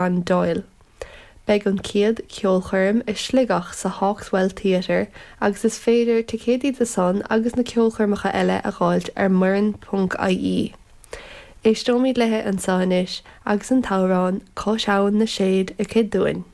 Ann Doyle. Beidh an chéad cheolchoirm i Sligeach sa Hawkswell Theatre agus is féidir ticéidí do san agus na ceolchoirmeacha eile a dh'fháilt ar muireann.ie. Éisteoimid léi anseo anois agus an t-amhrán 'Cois Abhann na Séad' aici dúinn.